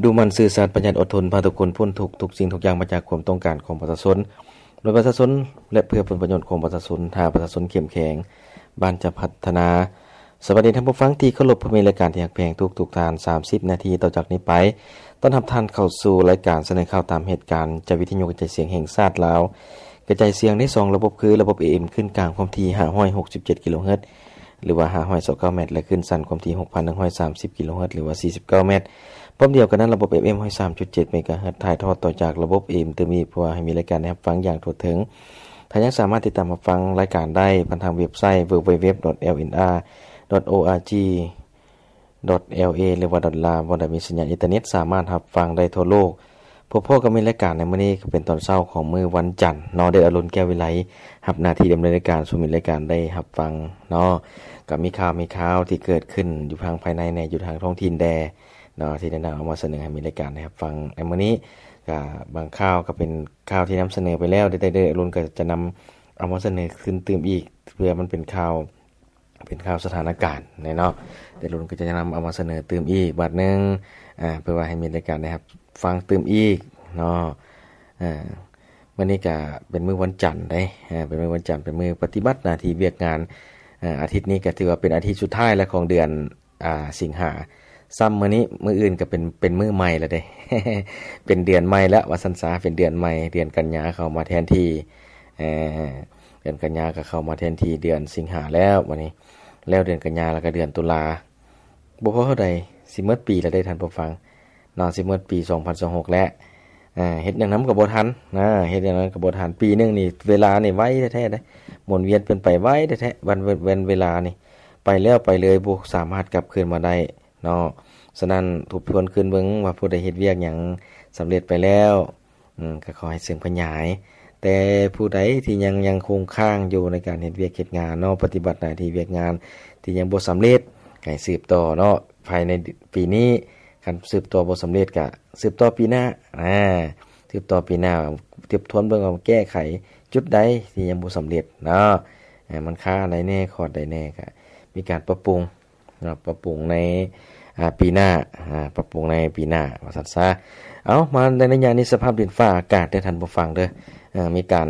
ດຸໝັ່ນຊື່ສັດ ປະຢັດອົດທົນ ພາທຸກຄົນພົ້ນທຸກ ທຸກສິ່ງທຸກຢ່າງມາຈາກຄວາມຕ້ອງການຂອງປະຊາຊົນ ໂດຍປະຊາຊົນ ແລະ ເພື່ອຜົນປະໂຫຍດຂອງປະຊາຊົນ. ຖ້າປະຊາຊົນເຂັ້ມແຂງ ບ້ານຈະພັດທະນາ. ສະບາຍດີທ່ານຜູ້ຟັງທີ່ເຄົາລົບ, ພົບກັນໃນລາຍການທີ່ຮັກແພງທຸກໆທ່ານ ສາມສິບນາທີຕໍ່ຈາກນີ້ໄປ ຕ້ອນຮັບທ່ານເຂົ້າສູ່ລາຍການສະເໜີຂ່າວຕາມເຫດການ ຈາກວິທະຍຸກະຈາຍສຽງແຫ່ງຊາດລາວ ກະຈາຍສຽງໄດ້ສອງລະບົບ ຄືລະບົບ ເອເອັມ ຄື້ນກາງຄວາມຖີ່ ຫ້າຮ້ອຍຫົກສິບເຈັດ ກິໂລເຮີດ ຫຼືວ່າ ຫ້າຮ້ອຍຊາວເກົ້າ ແມັດ ແລະ ຄື້ນສັ້ນຄວາມຖີ່ ຫົກພັນໜຶ່ງຮ້ອຍສາມສິບ ກິໂລເຮີດ ຫຼືວ່າ ສີ່ສິບເກົ້າ ແມັດ. ພ້ອມດຽວກັນນັ້ນ ລະບົບ ເອເອັມ ຮ້ອຍສາມຈຸດເຈັດ ເມກາເຮີດ ຖ່າຍທອດຕໍ່ຈາກລະບົບ ເອເອັມ ຕື່ມອີກ ເພື່ອໃຫ້ມີລາຍການໃຫ້ຮັບຟັງຢ່າງທົ່ວເຖິງ. ທ່ານຍັງສາມາດຕິດຕາມຮັບຟັງລາຍການໄດ້ຜ່ານທາງເວັບໄຊ www.lnr.org.la ຫຼືວ່າ .la ບ່ອນໃດມີສັນຍານອິນເຕີເນັດ ສາມາດຮັບຟັງໄດ້ທົ່ວໂລກ. ພົບກັນໃນລາຍການໃນມື້ນີ້ ກໍເປັນຕອນເຊົ້າຂອງມື້ວັນຈັນເນາະ, ເດດອາລຸນ ແກ້ວວິໄລ ຮັບໜ້າທີ່ດຳເນີນລາຍການສູ່ມິດລາຍການໄດ້ຮັບຟັງເນາະ. ກໍມີຂ່າວ ມີຂ່າວທີ່ເກີດຂຶ້ນຢູ່ທາງພາຍໃນແດ່ ຢູ່ທາງທ້ອງຖິ່ນແດ່ເນາະ ທີ່ໄດ້ນຳເອົາມາສະເໜີໃຫ້ມິດລາຍການໄດ້ຮັບຟັງໃນມື້ນີ້. ກໍບາງຂ່າວກໍເປັນຂ່າວທີ່ນຳສະເໜີໄປແລ້ວ, ແຕ່ເດດອາລຸນກໍຈະນຳເອົາມາສະເໜີຄືນຕື່ມອີກ ເພື່ອມັນເປັນຂ່າວ ເປັນຂ່າວສະຖານະການແດ່ເນາະ. ແຕ່ລຸນກໍຈະນຳເອົາມາສະເໜີຕື່ມອີກບາດໜຶ່ງ ອາ ເພື່ອວ່າໃຫ້ມິດລາຍການໄດ້ຮັບຟັງຕື່ມອີກເນາະ. ອາ ມື້ນີ້ກະເປັນມື້ວັນຈັນເດ້ ອາ ເປັນມື້ວັນຈັນ ເປັນມື້ປະຕິບັດໜ້າທີ່ວຽກງານ. ອາ ອາທິດນີ້ກະຖືວ່າເປັນອາທິດສຸດທ້າຍແລ້ວຂອງເດືອນ ອາ ສິງຫາ. ຊ້ຳມື້ນີ້ ມື້ອື່ນກະເປັນ ເປັນມື້ໃໝ່ແລ້ວເດ້ ເປັນເດືອນໃໝ່ແລ້ວວ່າຊັ້ນຊະ ເປັນເດືອນໃໝ່ ເດືອນກັນຍາເຂົ້າມາແທນທີ່ ເອີ ເດືອນກັນຍາກໍເຂົ້າມາແທນທີ່ເດືອນສິງຫາແລ້ວ. ບັດນີ້ແລ້ວເດືອນກັນຍາ ແລ້ວກໍເດືອນຕຸລາ ບໍ່ພໍເທົ່າໃດ ຊິໝົດປີແລ້ວເດ້ທ່ານຜູ້ຟັງເນາະ, ຊິໝົດປີສອງພັນຊາວຫົກແລ້ວ. ເຮັດຫຍັງນຳກໍບໍ່ທັນນະ ເຮັດຫຍັງນຳກໍບໍ່ທັນ. ປີໜຶ່ງນີ້ເວລານີ້ໄວແທ້ໆເດ້ ໝູນວຽນເປັນໄປໄວແທ້ໆ ວັນ ວັນເວລານີ້ໄປແລ້ວໄປເລີຍ ບໍ່ສາມາດກັບຄືນມາໄດ້ເນາະ. ສະນັ້ນທົບທວນຄືນເບິ່ງວ່າຜູ້ໃດເຮັດວຽກຫຍັງສຳເລັດໄປແລ້ວ ອືມ ກໍຂໍໃຫ້ເຊິ່ງຂະຫຍາຍ. ແຕ່ຜູ້ໃດທີ່ຍັງ ຍັງຄົງຄ້າງຢູ່ໃນການເຮັດວຽກເຮັດງານເນາະ ປະຕິບັດໜ້າທີ່ວຽກງານ ທີ່ຍັງບໍ່ສຳເລັດ ໃຫ້ສືບຕໍ່ເນາະ ພາຍໃນປີນີ້. ຄັນສືບຕໍ່ບໍ່ສຳເລັດ ກະສືບຕໍ່ປີໜ້າ ອາ ສືບຕໍ່ປີໜ້າ ທົບທວນເບິ່ງວ່າແກ້ໄຂຈຸດໃດທີ່ຍັງບໍ່ສຳເລັດເນາະ ອາ ມັນຄາອັນໃດແດ່ ຂອງໃດແດ່ ກະມີການປັບປຸງ ເນາະ ປັບປຸງໃນ ອາ ປີໜ້າ ອາ ປັບປຸງໃນປີໜ້າວ່າຊັ້ນຊະ. ເອົາ ມາໃນໄລຍະນີ້ ສະພາບດິນຟ້າອາກາດເດີທ່ານຜູ້ຟັງເດີ ເອີ ມີການ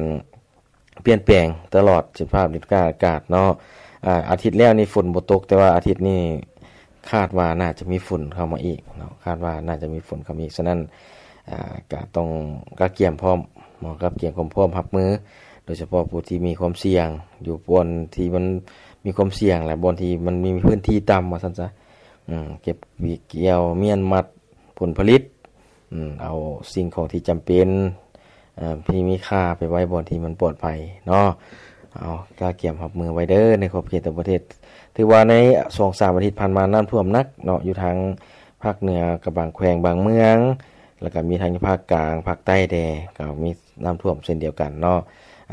ປ່ຽນແປງຕະຫຼອດ ສະພາບດິນຟ້າອາກາດເນາະ. ອາ ອາທິດແລ້ວນີ້ຝົນບໍ່ຕົກ ແຕ່ວ່າອາທິດນີ້ຄາດວ່າໜ້າຈະມີຝົນເຂົ້າມາອີກເນາະ ຄາດວ່າໜ້າຈະມີຝົນເຂົ້າມາອີກ. ສະນັ້ນ ອາ ກະຕ້ອງກະກຽມພ້ອມເນາະ ກະກຽມຄວາມພ້ອມຮັບມື ໂດຍສະເພາະຜູ້ທີ່ມີຄວາມສ່ຽງ ຢູ່ບ່ອນທີ່ມັນມີຄວາມສ່ຽງ ແລະ ບ່ອນທີ່ມັນມີພື້ນທີ່ຕ່ຳວ່າຊັ້ນຊະ ອືມ ເກັບ ກ່ຽວ ມ້ຽນມັດຜົນຜະລິດ ອືມ ເອົາສິ່ງຂອງທີ່ຈຳເປັນ ເອີ ທີ່ມີຄ່າໄປໄວ້ບ່ອນທີ່ມັນປອດໄພເນາະ. ເອົາ ກະກຽມຮັບມືໄວ້ເດີ ໃນຂອບເຂດຕ່າງປະເທດ. ຖືວ່າໃນສອງສາມອາທິດຜ່ານມາ ນ້ຳຖ້ວມໜັກເນາະ ຢູ່ທາງພາກເໜືອກັບບາງແຂວງບາງເມືອງ ແລ້ວກະມີທັງພາກກາງ ພາກໃຕ້ແດ່ ກໍມີນ້ຳຖ້ວມເຊັ່ນດຽວກັນເນາະ.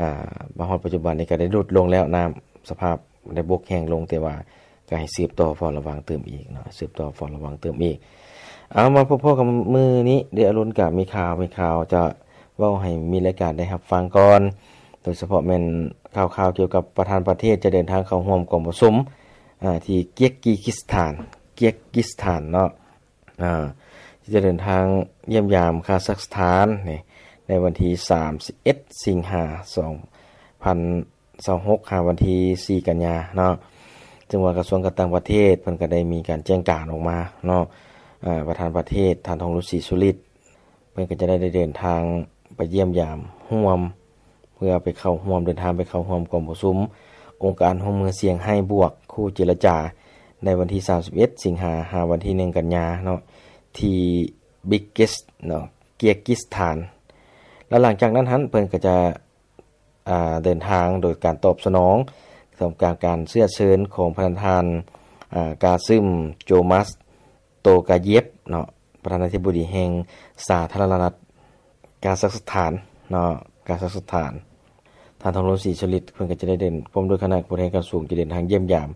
ອາ ມາຮອດປັດຈຸບັນນີ້ກໍໄດ້ຫຼຸດລົງແລ້ວ ນ້ຳສະພາບໄດ້ບົກແຫ້ງລົງ ແຕ່ວ່າກໍໃຫ້ສືບຕໍ່ເຝົ້າລະວັງຕື່ມອີກເນາະ ສືບຕໍ່ເຝົ້າລະວັງຕື່ມອີກ. ເອົາ ມາພົບກັນມື້ນີ້ເດ ອາລຸນກະມີຂ່າວ ມີຂ່າວຈະເວົ້າໃຫ້ມິດລາຍການໄດ້ຮັບຟັງກ່ອນ ໂດຍສະເພາະແມ່ນຂ່າວໆກ່ຽວກັບປະທານປະເທດຈະເດີນທາງເຂົ້າຮ່ວມກອງປະຊຸມ ອາ ທີ່ເກຍກກີກິສຖານ ເກຍກກີສຖານເນາະ ອາ ທີ່ຈະເດີນທາງຢ້ຽມຢາມຄາຊັກສະຖານນີ້ ໃນວັນທີສາມສິບເອັດ ສິງຫາ ສອງພັນຊາວຫົກ ຫາວັນທີສີ່ ກັນຍາເນາະ. ເຊິ່ງວ່າກະຊວງການຕ່າງປະເທດເພິ່ນກະໄດ້ມີການແຈ້ງການອອກມາເນາະ ອາ ປະທານປະເທດ ທ່ານ ທອງລຸນ ສີສຸລິດ ເພິ່ນກໍຈະໄດ້ເດີນທາງໄປຢ້ຽມຢາມຮ່ວມ ເພື່ອໄປເຂົ້າຮ່ວມ ເດີນທາງໄປເຂົ້າຮ່ວມກອງປະຊຸມອົງການຮ່ວມມືຊຽງໄຮ້ບວກຄູ່ເຈລະຈາ ໃນວັນທີສາມສິບເອັດ ສິງຫາ ຫາວັນທີໜຶ່ງ ກັນຍາເນາະ ທີ່ບິເກສເນາະ ເກຍກກິສຖານ. ແລ້ວຫຼັງຈາກນັ້ນຫັ້ນ ເພິ່ນກໍຈະ ອາ ເດີນທາງໂດຍການຕອບສະໜອງຕໍ່ການ ການເຊື້ອເຊີນຂອງພະນະທ່ານ ອາ ກາຊຶມ ໂຈມາສ ໂຕກາເຢບເນາະ ປະທານາທິບໍດີແຫ່ງສາທາລະນະລັດກາຊັກສະຖານເນາະ ກາຊັກສະຖານ. ທ່ານ ທອງລຸນ ສີສຸລິດ ເພິ່ນກໍຈະໄດ້ເດີນ ພ້ອມດ້ວຍຄະນະຜູ້ແທນຂັ້ນສູງ ຈະເດີນທາງຢ້ຽມຢາມ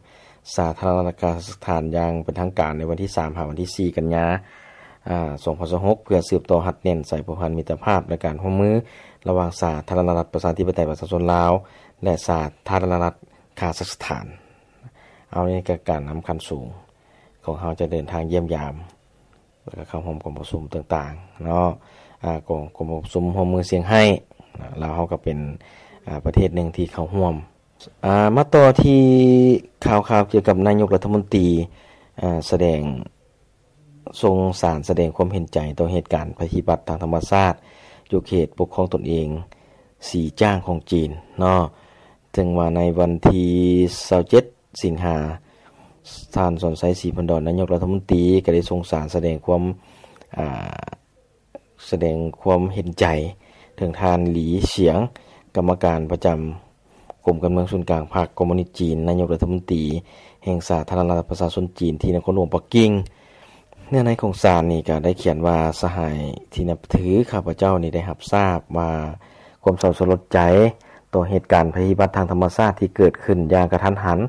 ສາທາລະນະລັດກາຊັກສະຖານຢ່າງເປັນທາງການໃນວັນທີສາມ ຫາວັນທີສີ່ ກັນຍາ ອາ ສອງພັນຊາວຫົກ ເພື່ອສືບຕໍ່ຮັດແໜ້ນສາຍພົວພັນມິດຕະພາບ ແລະ ການຮ່ວມມືລະຫວ່າງສາທາລະນະລັດປະຊາທິປະໄຕປະຊາຊົນລາວ ແລະ ສາທາລະນະລັດຄາຊັກສະຖານ. ເອົາ ນີ້ກໍການນຳຂັ້ນສູງຂອງເຮົາຈະເດີນທາງຢ້ຽມຢາມ ແລ້ວກໍເຂົ້າຮ່ວມກອງປະຊຸມຕ່າງໆເນາະ ອາ ກອງ ກອງປະຊຸມຮ່ວມມືສ່ຽງໄຮ້ ລາວເຮົາກໍເປັນ ອາ ປະເທດໜຶ່ງທີ່ເຂົ້າຮ່ວມ. ອາ ມາຕໍ່ທີ່ຂ່າວໆກ່ຽວກັບນາຍົກລັດຖະມົນຕີ ອາ ສະແດງ ສົ່ງສານສະແດງຄວາມເຫັນໃຈຕໍ່ເຫດການໄພພິບັດທາງທຳມະຊາດຢູ່ເຂດປົກຄອງຕົນເອງສີຈ້າງຂອງຈີນເນາະ. ເຖິງວ່າໃນວັນທີຊາວເຈັດ ສິງຫາ ທ່ານ ສອນໄຊ ສີພັນດອນ ນາຍົກລັດຖະມົນຕີ ກໍໄດ້ສົ່ງສານສະແດງຄວາມ ອາ ສະແດງຄວາມເຫັນໃຈເຖິງທ່ານ ຫຼີ ສຽງ ກຳມະການປະຈຳກົມການເມືອງສູນກາງພັກຄອມມູນິດຈີນ, ນາຍົກລັດຖະມົນຕີແຫ່ງສາທາລະນະລັດປະຊາຊົນຈີນ ທີ່ນະຄອນຫຼວງປັກກິ່ງ. ເນື້ອໃນຂອງສານນີ້ກໍໄດ້ຂຽນວ່າ, ສະຫາຍທີ່ນັບຖື, ຂ້າພະເຈົ້ານີ້ໄດ້ຮັບຊາບວ່າຄວາມເສົ້າສະຫຼົດໃຈຕໍ່ເຫດການໄພພິບັດທາງທຳມະຊາດທີ່ເກີດຂຶ້ນຢ່າງກະທັນຫັນ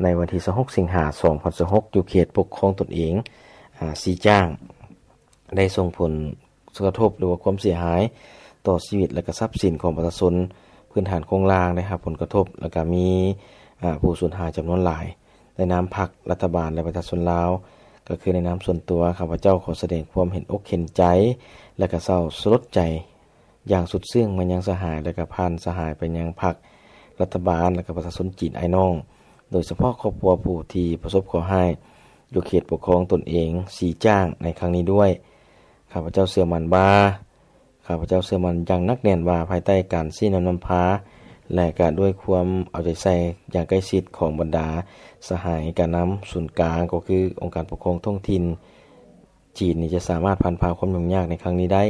ໃນວັນທີຊາວຫົກ ສິງຫາ ສອງພັນຊາວຫົກ ຢູ່ເຂດປົກຄອງຕົນເອງ ອາ ສີຈ້າງ ໄດ້ສົ່ງຜົນກະທົບ ຫຼືວ່າຄວາມເສຍຫາຍຕໍ່ຊີວິດ ແລະກະຊັບສິນຂອງປະຊາຊົນ, ພື້ນຖານໂຄງລ່າງໄດ້ຮັບຜົນກະທົບ ແລະກະມີ ອາ ຜູ້ສູນຫາຍຈຳນວນຫຼາຍ. ໃນນາມພັກ, ລັດຖະບານ ແລະປະຊາຊົນລາວ, ກໍຄືໃນນາມສ່ວນຕົວ, ຂ້າພະເຈົ້າຂໍສະແດງຄວາມເຫັນອົກເຫັນໃຈ ແລະກະເສົ້າສະຫຼົດໃຈຢ່າງສຸດຊຶ້ງມາຍັງສະຫາຍ ແລະກະຜ່ານສະຫາຍໄປຍັງພັກ, ລັດຖະບານ ແລະກະປະຊາຊົນຈີນອ້າຍນ້ອງ, ໂດຍສະເພາະຄອບຄົວຜູ້ທີ່ປະສົບເຄາະຮ້າຍຢູ່ເຂດປົກຄອງຕົນເອງສີຈ້າງໃນຄັ້ງນີ້ດ້ວຍ. ຂ້າພະເຈົ້າເຊື່ອໝັ້ນວ່າ, ຂ້າພະເຈົ້າເຊື່ອໝັ້ນຢ່າງໜັກແໜ້ນວ່າ ພາຍໃຕ້ການຊີ້ນຳນຳພາ ແລະກະດ້ວຍຄວາມເອົາໃຈໃສ່ຢ່າງໃກ້ຊິດຂອງບັນດາສະຫາຍການນຳສູນກາງ ກໍຄືອົງການປົກຄອງທ້ອງຖິ່ນຈີນນີ້ ຈະສາມາດຜ່ານຜ່າຄວາມຫຍຸ້ງຍາກໃນຄັ້ງນີ້ໄດ້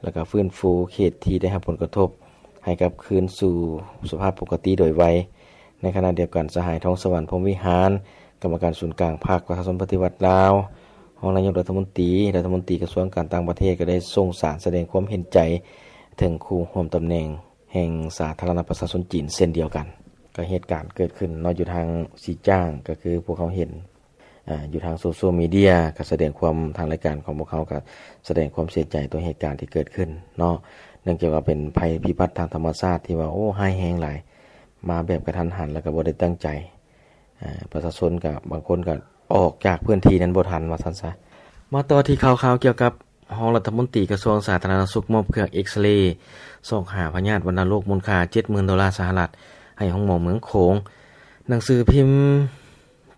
ແລະກະຟື້ນຟູເຂດທີ່ໄດ້ຮັບຜົນກະທົບໃຫ້ກັບຄືນສູ່ສະພາບປົກກະຕິໂດຍໄວ. ໃນຂະນະດຽວກັນ, ສະຫາຍ ທອງສະຫວັນ ພົມວິຫານ ກຳມະການສູນກາງພັກປະຊາຊົນປະຕິວັດລາວ, ຮອງນາຍົກລັດຖະມົນຕີ, ລັດຖະມົນຕີກະຊວງການຕ່າງປະເທດ ກໍໄດ້ສົ່ງສານສະແດງຄວາມເຫັນໃຈເຖິງຄູ່ຮ່ວມຕຳແໜ່ງແຫ່ງສາທາລະນະປະຊາຊົນຈີນເຊັ່ນດຽວກັນ. ກໍເຫດການເກີດຂຶ້ນເນາະ ຢູ່ທາງສີຈ້າງ ກໍຄືພວກເຮົາເຫັນ ອາ ຢູ່ທາງໂຊຊຽວມີເດຍ ກໍສະແດງຄວາມ, ທາງລາຍການຂອງພວກເຮົາກໍສະແດງຄວາມເສຍໃຈຕໍ່ເຫດການທີ່ເກີດຂຶ້ນເນາະ, ເນື່ອງຈາກວ່າເປັນໄພພິບັດທາງທຳມະຊາດທີ່ວ່າ ໂອ້ ຮ້າຍແຮງຫຼາຍ, ມາແບບກະທັນຫັນ ແລ້ວກໍບໍ່ໄດ້ຕັ້ງໃຈ. ອາ ປະຊາຊົນກໍບາງຄົນກໍອອກຈາກພື້ນທີ່ນັ້ນບໍ່ທັນ ວ່າຊັ້ນຊະ. ມາຕໍ່ທີ່ຂ່າວໆກ່ຽວກັບຮອງລັດຖະມົນຕີກະຊວງສາທາລະນະສຸກ ມອບເຄື່ອງເອັກສະເຣຊອກຫາພະຍາດວັນນະໂລກມູນຄ່າເຈັດໝື່ນໂດລາສະຫະລັດໃຫ້ໂຮງໝໍເມືອງໂຂງ. ໜັງສືພິມ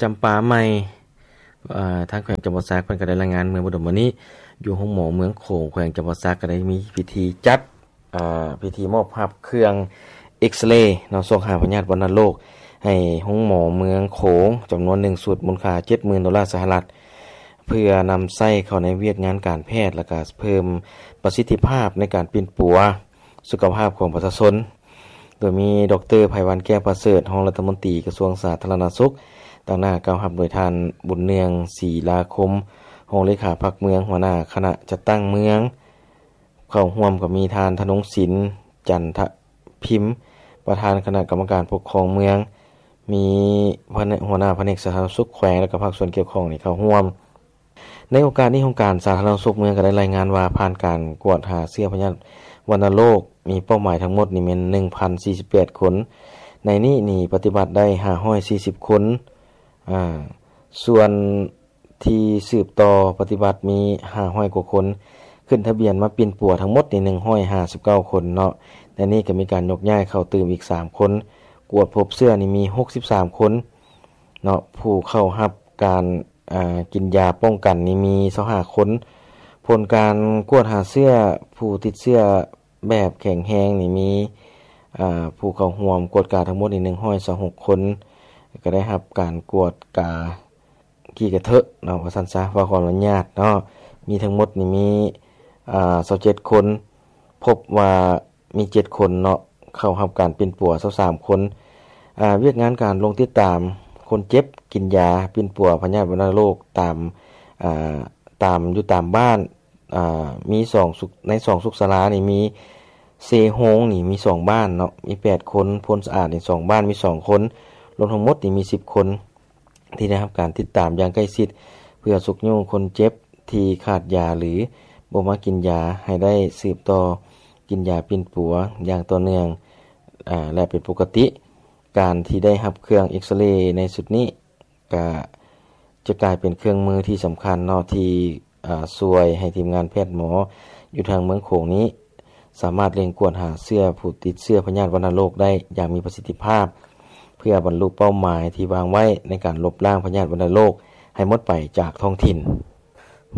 ຈຳປາໃໝ່ ເອີ ທາງແຂວງຈຳປາສັກເພິ່ນກໍໄດ້ລາຍງານເມື່ອບໍ່ດົນມານີ້ ຢູ່ໂຮງໝໍເມືອງໂຂງ ແຂວງຈຳປາສັກ ກໍໄດ້ມີພິທີຈັດ ເອີ ພິທີມອບຮັບເຄື່ອງເອັກສະເຣເນາະ ຊອກຫາພະຍາດວັນນະໂລກໃຫ້ໂຮງໝໍເມືອງໂຂງ ຈຳນວນໜຶ່ງຊຸດ ມູນຄ່າເຈັດໝື່ນໂດລາສະຫະລັດ ເພື່ອນຳໃຊ້ເຂົ້າໃນວຽກງານການແພດ ແລະກະເພີ່ມປະສິດທິພາບໃນການປິ່ນປົວສຸຂະພາບຂອງປະຊາຊົນ. ໂດຍມີ ດອກເຕີ ໄພວັນ ແກ້ວປະເສີດ ຮອງລັດຖະມົນຕີກະຊວງສາທາລະນະສຸກ, ຕາງໜ້າກ່າວຮັບໂດຍທ່ານ ບຸນເນືອງ ສີລາຄົມ ຮອງເລຂາພັກເມືອງ ຫົວໜ້າຄະນະຈັດຕັ້ງເມືອງ, ເຂົ້າຮ່ວມກໍມີທ່ານ ທະນົງສິນ ຈັນທະພິມ ປະທານຄະນະກຳມະການປົກຄອງເມືອງ, ມີ ຫົວໜ້າພະແນກສາທາລະນະສຸກແຂວງ ແລະກະພາກສ່ວນກ່ຽວຂ້ອງນີ້ເຂົ້າຮ່ວມ. ໃນໂອກາດນີ້ ຫ້ອງການສາທາລະນະສຸກເມືອງກໍໄດ້ລາຍງານວ່າ ຜ່ານການກວດຫາເຊື້ອພະຍາດວັນນະໂລກ ມີເປົ້າໝາຍທັງໝົດນີ້ແມ່ນໜຶ່ງພັນສີ່ສິບແປດຄົນ, ໃນນີ້ນີ້ປະຕິບັດໄດ້ຫ້າຮ້ອຍສີ່ສິບຄົນ, ອາ ສ່ວນທີ່ສືບຕໍ່ປະຕິບັດມີຫ້າຮ້ອຍກວ່າຄົນ, ຂຶ້ນທະບຽນມາປິ່ນປົວທັງໝົດນີ້ໜຶ່ງຮ້ອຍຫ້າສິບເກົ້າຄົນເນາະ, ໃນນີ້ກໍມີການຍົກຍ້າຍເຂົ້າຕື່ມອີກສາມຄົນ, ກວດພົບເຊື້ອນີ້ມີຫົກສິບສາມຄົນເນາະ, ຜູ້ເຂົ້າຮັບການ ອາ ກິນຢາປ້ອງກັນນີ້ມີຊາວຫ້າຄົນ, ຜົນການກວດຫາເຊື້ອຜູ້ຕິດເຊື້ອແບບແຂງແຮງນີ້ມີ ອາ ຜູ້ເຂົ້າຮ່ວມກວດກາທັງໝົດນີ້ໜຶ່ງຮ້ອຍຊາວຫົກຄົນ, ກໍໄດ້ຮັບການກວດກາຂີ້ກະເທາະເນາະ ວ່າຊັ້ນຊະ ເວົ້າຄວາມລະຍາດເນາະ, ມີທັງໝົດນີ້ມີ ອາ ຊາວເຈັດຄົນ, ພົບວ່າ ມີເຈັດຄົນເນາະ ເຂົ້າຮັບການປິ່ນປົວຊາວສາມຄົນ. ອາ ວຽກງານການລົງຕິດຕາມຄົນເຈັບ ກິນຢາປິ່ນປົວພະຍາດວັນນະໂລກຕາມ ອາ ຕາມ ຢູ່ຕາມບ້ານ ອາ ມີສອງສຸກ ໃນສອງສຸກສາລານີ້ມີເຊໂຮງນີ້ມີສອງບ້ານເນາະ ມີແປດຄົນ, ໂພນສະອາດນີ້ສອງບ້ານມີສອງຄົນ, ລວມທັງໝົດນີ້ມີສິບຄົນ ທີ່ໄດ້ຮັບການຕິດຕາມຢ່າງໃກ້ຊິດ ເພື່ອຊຸກຍູ້ຄົນເຈັບທີ່ຂາດຢາ ຫຼື ບໍ່ມາກິນຢາ ໃຫ້ໄດ້ສືບຕໍ່ກິນຢາປິ່ນປົວຢ່າງຕໍ່ເນື່ອງ ອາ ແລະ ເປັນປົກກະຕິ. ການທີ່ໄດ້ຮັບເຄື່ອງເອັກສະເຣໃນຊຸດນີ້ ກະຈະກາຍເປັນເຄື່ອງມືທີ່ສຳຄັນເນາະ ທີ່ ອາ ຊ່ວຍໃຫ້ທີມງານແພດໝໍຢູ່ທາງເມືອງໂຂງນີ້ ສາມາດເລັ່ງກວດຫາເຊື້ອຜູ້ຕິດເຊື້ອພະຍາດວັນນະໂລກໄດ້ຢ່າງມີປະສິດທິພາບ ເພື່ອບັນລຸເປົ້າໝາຍທີ່ວາງໄວ້ໃນການລົບລ້າງພະຍາດວັນນະໂລກໃຫ້ໝົດໄປຈາກທ້ອງຖິ່ນ.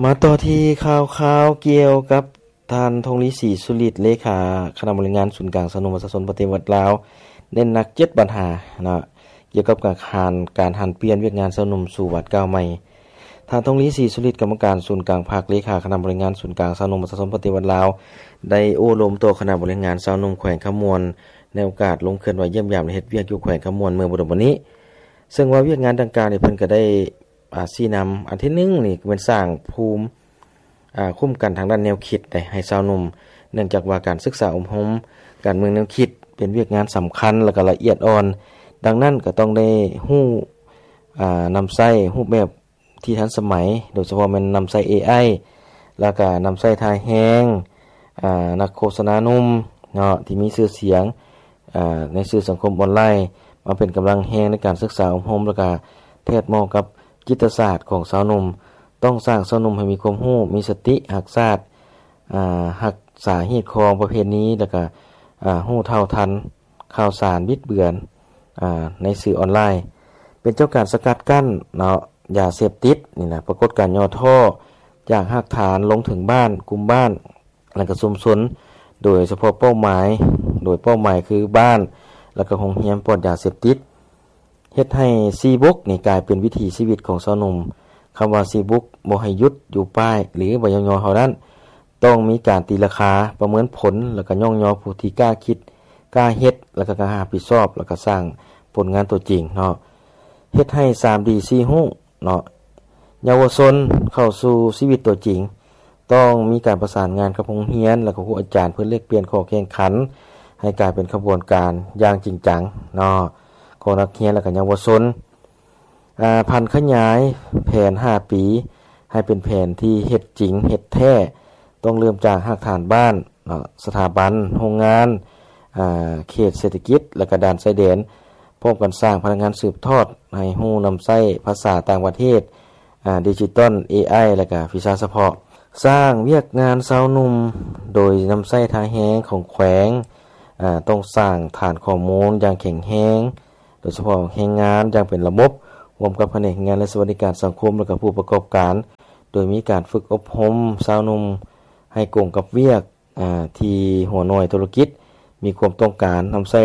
ມາຕໍ່ທີ່ຂ່າວຄາວກ່ຽວກັບທ່ານ ທົງລີ ສີສຸລິດ ເລຂາຄະນະບໍລິຫານງານສູນກາງຊາວໜຸ່ມປະຊາຊົນປະຕິວັດລາວ ເນັ້ນໜັກເຈັດບັນຫາເນາະ ກ່ຽວກັບການ ການຫັນປ່ຽນວຽກງານຊາວໜຸ່ມສູ່ບາດກ້າວໃໝ່. ທ່ານ ທົງລີ ສີສຸລິດ ກຳມະການສູນກາງພັກ ເລຂາຄະນະບໍລິຫານງານສູນກາງຊາວໜຸ່ມປະຊາຊົນປະຕິວັດລາວ ໄດ້ໂອ້ລົມຕໍ່ຄະນະບໍລິຫານງານຊາວໜຸ່ມແຂວງຄຳມ່ວນ ໃນໂອກາດລົງເຄື່ອນໄຫວຢ້ຽມຢາມ ແລະ ເຮັດວຽກຢູ່ແຂວງຄຳມ່ວນເມື່ອບໍ່ດົນມານີ້ ເຊິ່ງວ່າວຽກງານດັ່ງກ່າວນີ້ເພິ່ນກໍໄດ້ ອາ ຊີ້ນຳ ອັນທີໜຶ່ງນີ້ແມ່ນສ້າງພູມ ອາ ຄຸ້ມກັນທາງດ້ານແນວຄິດໃຫ້ຊາວໜຸ່ມ ເນື່ອງຈາກວ່າການສຶກສາອົບຮົມການເມືອງແນວຄິດ ເປັນວຽກງານສຳຄັນ ແລະ ກໍລະອຽດອ່ອນ. ດັ່ງນັ້ນກໍຕ້ອງໄດ້ຮູ້ ອາ ນຳໃຊ້ຮູບແບບທີ່ທັນສະໄໝ ໂດຍສະເພາະແມ່ນນຳໃຊ້ເອໄອ ແລະ ກໍນຳໃຊ້ທ່າແຮງ ອາ ນັກໂຄສະນາໜຸ່ມເນາະ ທີ່ມີຊື່ສຽງ ອາ ໃນສື່ສັງຄົມອອນລາຍ ມາເປັນກຳລັງແຮງໃນການສຶກສາອົບຮົມ ແລະ ກະແທດເໝາະກັບຈິດຕະສາດຂອງຊາວໜຸ່ມ. ຕ້ອງສ້າງຊາວໜຸ່ມໃຫ້ມີຄວາມຮູ້, ມີສະຕິ, ຮັກຊາດ, ອາ, ຮັກສາຮີດຄອງປະເພນີ ແລະ ກະ, ອາ, ຮູ້ເທົ່າທັນຂ່າວສານບິດເບືອນ, ອາ, ໃນສື່ອອນລາຍ. ເປັນເຈົ້າການສະກັດກັ້ນເນາະ, ຢາເສບຕິດນີ້ນະ, ປາກົດການຫຍໍ້ທໍ້ຈາກຮາກຖານລົງເຖິງບ້ານ, ກຸ່ມບ້ານ, ແລະ ກະຊຸມຊົນ, ໂດຍສະເພາະເປົ້າໝາຍ, ໂດຍເປົ້າໝາຍຄືບ້ານ ແລະ ກະໂຮງຮຽນປອດຢາເສບຕິດ, ເຮັດໃຫ້ສີ່ບຸກນີ້ກາຍເປັນວິຖີຊີວິດຂອງຊາວໜຸ່ມ. ຄຳວ່າສີ່ບຸກບໍ່ໃຫ້ຢຸດຢູ່ປ້າຍ ຫຼື ບໍ່ຍ້ອງຍໍເທົ່ານັ້ນ, ຕ້ອງມີການຕີລາຄາ, ປະເມີນຜົນ ແລະ ກະຍ້ອງຍໍຜູ້ທີ່ກ້າຄິດ, ກ້າເຮັດ ແລະ ກະກ້າຮັບຜິດຊອບ ແລະ ກະສ້າງຜົນງານຕົວຈິງເນາະ. ເຮັດໃຫ້ສາມດີສີ່ຮູ້ເນາະ ເຍົາວະຊົນເຂົ້າສູ່ຊີວິດຕົວຈິງ, ຕ້ອງມີການປະສານງານກັບໂຮງຮຽນ ແລະ ກະຄູອາຈານ ເພື່ອແລກປ່ຽນຂໍ້ແຂ່ງຂັນໃຫ້ກາຍເປັນຂະບວນການຢ່າງຈິງຈັງເນາະ ຂອງນັກຮຽນ ແລະ ກະເຍົາວະຊົນ. ອາ, ຜັນຂະຫຍາຍແຜນຫ້າປີ ໃຫ້ເປັນແຜນທີ່ເຮັດຈິງເຮັດແທ້, ຕ້ອງເລີ່ມຈາກຮາກຖານບ້ານເນາະ, ສະຖາບັນ, ໂຮງງານ, ອາ, ເຂດເສດຖະກິດ ແລະ ກະດ່ານຊາຍແດນ, ພ້ອມກັນສ້າງພະນັກງານສືບທອດໃຫ້ຮູ້ນຳໃຊ້ພາສາຕ່າງປະເທດ, ອາ, ດິຈິຕອນ, ເອໄອ ແລະ ກະວິຊາສະເພາະ. ສ້າງວຽກງານຊາວໜຸ່ມໂດຍນຳໃຊ້ທ່າແຮງຂອງແຂວງ, ອາ, ຕ້ອງສ້າງຖານຂໍ້ມູນຢ່າງແຂງແຮງ, ໂດຍສະເພາະແຮງງານຢ່າງເປັນລະບົບ, ຮ່ວມກັບພະແນກແຮງງານ ແລະ ສະຫວັດດີການສັງຄົມ ແລະ ກະຜູ້ປະກອບການ, ໂດຍມີການຝຶກອົບຮົມຊາວໜຸ່ມໃຫ້ກົງກັບວຽກ, ອາ, ທີ່ຫົວໜ່ວຍທຸລະກິດມີຄວາມຕ້ອງການ, ນຳໃຊ້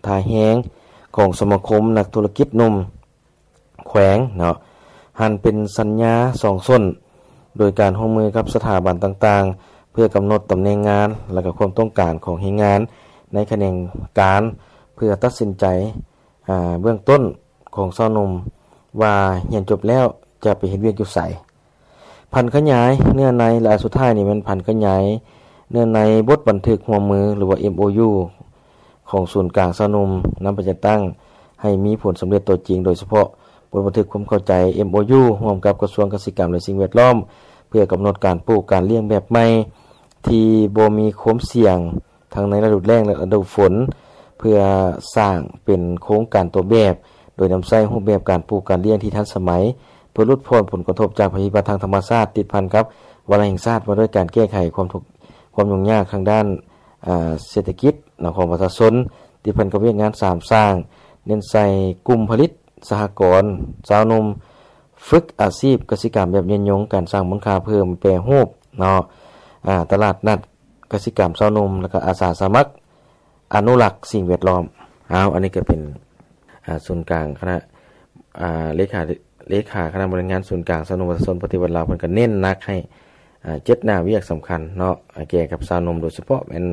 ທ່າແຮງຂອງສະມາຄົມນັກທຸລະກິດໜຸ່ມແຂວງເນາະ, ຫັນເປັນສັນຍາສອງສົ້ນ, ໂດຍການຮ່ວມມືກັບສະຖາບັນຕ່າງໆ ເພື່ອກຳນົດຕຳແໜ່ງງານ ແລະ ກະຄວາມຕ້ອງການຂອງແຮງງານໃນຂະແໜງການ ເພື່ອຕັດສິນໃຈ ອາ, ເບື້ອງຕົ້ນຂອງຊາວໜຸ່ມວ່າຮຽນຈົບແລ້ວຈະໄປເຮັດວຽກຢູ່ໃສ. ຜັນຂະຫຍາຍເນື້ອໃນ ແລະ ອັນສຸດທ້າຍນີ້ແມ່ນຜັນຂະຫຍາຍເນື້ອໃນບົດບັນທຶກຮ່ວມມື ຫຼືວ່າ ເອັມໂອຢູ ຂອງສູນກາງຊາວໜຸ່ມນຳໄປຈັດຕັ້ງໃຫ້ມີຜົນສຳເລັດຕົວຈິງ, ໂດຍສະເພາະບົດບັນທຶກຄວາມເຂົ້າໃຈ ເອັມໂອຢູ ຮ່ວມກັບກະຊວງກະສິກຳ ແລະ ສິ່ງແວດລ້ອມ ເພື່ອກຳນົດການປູກການລ້ຽງແບບໃໝ່ ທີ່ບໍ່ມີຄວາມສ່ຽງ ທັງໃນລະດູແລ້ງ ແລະ ລະດູຝົນ ເພື່ອສ້າງເປັນໂຄງການຕົວແບບ ໂດຍນຳໃຊ້ຮູບແບບການປູກການລ້ຽງທີ່ທັນສະໄໝ ເພື່ອຫຼຸດຜ່ອນຜົນກະທົບຈາກໄພພິບັດທາງທຳມະຊາດ ຕິດພັນກັບວາລະແຫ່ງຊາດວ່າດ້ວຍການແກ້ໄຂຄວາມທຸກ ຄວາມຫຍຸ້ງຍາກທາງດ້ານ, ອາ, ເສດຖະກິດເນາະ ຂອງປະຊາຊົນ, ຕິດພັນກັບວຽກງານສາມສ້າງ, ເນັ້ນໃສ່ກຸ່ມຜະລິດ, ສະຫະກອນ, ຊາວໜຸ່ມ, ຝຶກອາຊີບກະສິກຳແບບຍືນຍົງ, ການສ້າງມູນຄ່າເພີ່ມ, ແປຮູບເນາະ, ອາ, ຕະຫຼາດນັດ, ກະສິກຳຊາວໜຸ່ມ ແລ້ວກໍອາສາສະໝັກອະນຸລັກສິ່ງແວດລ້ອມ. ເອົາ, ອັນນີ້ກໍເປັນ, ອາ, ສູນກາງຄະນະ, ອາ, ເລຂາ, ເລຂາຄະນະບໍລິຫານງານສູນກາງຊາວໜຸ່ມປະຊາຊົນປະຕິວັດລາວ ເພິ່ນກໍເນັ້ນໜັກໃຫ້, ອາ, ເຈັດໜ້າວຽກສຳຄັນເນາະ, ອາ, ແກ່ກັບຊາວໜຸ່ມ, ໂດຍສະເພາະແມ່ນ